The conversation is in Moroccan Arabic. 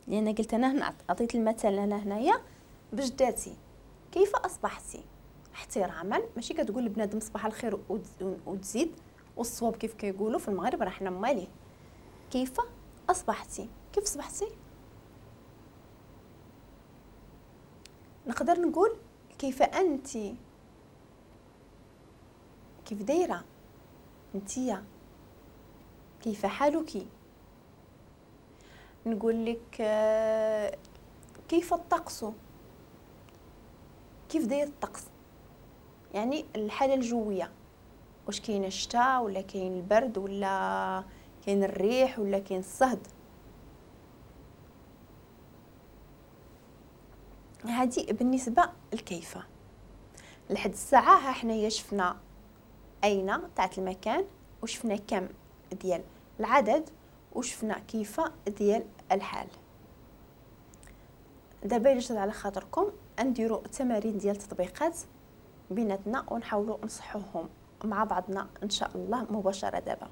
لان قلت انا هنا عطيت المثل انا هنايا بجداتي. كيف اصبحتي احتراما، ماشي كتقول لبنادم صباح الخير وتزيد، والصواب كيف كيقولوا في المغرب راه حنا ماليه. كيف اصبحتي، كيف صبحتي؟ نقدر نقول كيف انت، كيف دايرة انتيا، كيف حالك. نقول لك كيف الطقس، كيف داير الطقس، يعني الحالة الجوية، واش كاين الشتاء ولا كاين البرد ولا كاين الريح ولا كاين الصهد. هذه بالنسبة لكيف. لحد الساعة ها حنايا شفنا اين تاعت المكان، وشفنا كم ديال العدد، وشفنا كيف ديال الحال. دابا الا جات على خاطركم نديرو تمارين ديال التطبيقات بيناتنا ونحاولوا نصحوهم مع بعضنا ان شاء الله مباشرة. دابا